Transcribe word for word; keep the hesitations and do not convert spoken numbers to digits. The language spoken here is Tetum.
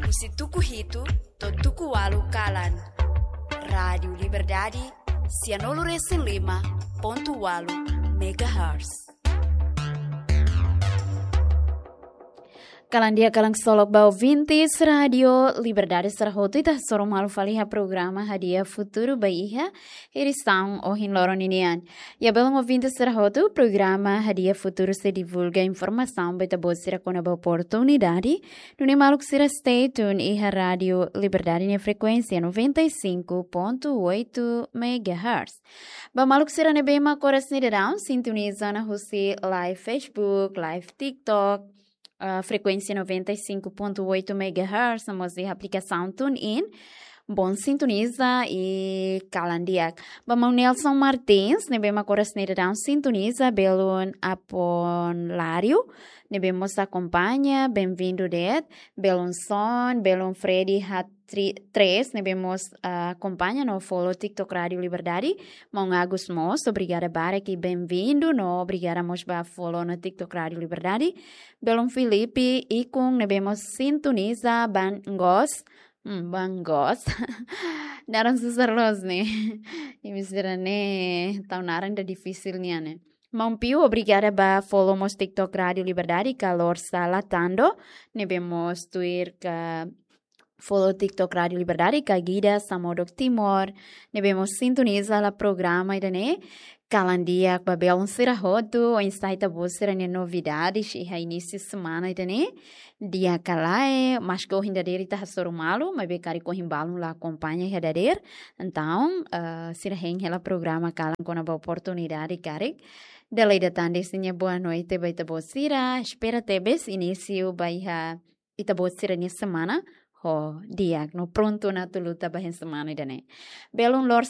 Husi tuku hitu to'o tuku ualu kalan. Rádiu Liberdade, sianulu resin lima pontu ualu megahertz. Kalan di'ak, kalan ksolok ba ouvintes Rádiu Liberdade sira hotu, ita hasoru malu fali iha programa Hadi'a Futuru ba iha edisaun ohin loron ninian. Ya, belun ouvintes sira hotu, programa Hadi'a Futuru sei divulga informasaun ba ita-boot sira kona-ba oportunidade, nune'e maluk sira stay tune iha Rádiu Liberdade nia frekuénsia noventa e cinco ponto oito megahertz. Ba maluk sira ne'ebé mak oras ne'e daudaun sintoniza ona husi live Facebook, live TikTok, ah, frekuénsia noventa e cinco ponto oito megahertz, no mós iha aplikasaun TuneIn. Bom sintoniza i kalan di'ak. Ba maun Nelson Martins, ne'ebé mak oras ne'e daudaun sintoniza, belun Apon Lário, ne'ebé mós akompaña, bem-vindo de'it. Belun Son, belun Freddy Hat tri-, Tres, ne'ebé mós, ah, akompaña no follow TikTok Rádiu Liberdade. Maun Agus mós, obrigada barak i bem-vindo, no obrigada mós ba follow no TikTok Rádiu Liberdade. Belun Filipe Ikun, ne'ebé mós sintoniza, Bangos. Hmm, Bangos. Naran susar loos ne'e. Imi sira ne'e tau naran ida difisil nian ne'e. Maun Piu, obrigada ba follow mós TikTok Rádiu Liberdade, Calor Sala Tando, ne'ebé mós tuir ka follow TikTok Rádiu Liberdade, ka Gida Samodok Timor, ne'ebé mós sintoniza hela programa ida-ne'e. Kalan di'ak ba belun sira hotu, oinsá ita-boot sira-nia novidades iha inísiu semana ida-ne'e? Di'ak ka lae, maske ohin dadeer ita hasoru malu, maibé karik ohin balun la akompaña iha dadeer. Entaun, eh, sira hein hela programa kalan kona-ba oportunidade karik. Dala ida tan dese nia boa noite ba ita-boot sira. Espera tebes inísiu ba iha ita-boot sira-nia semana ho di'ak no prontu ona atu luta ba iha semana ida-ne'e. Belun Lor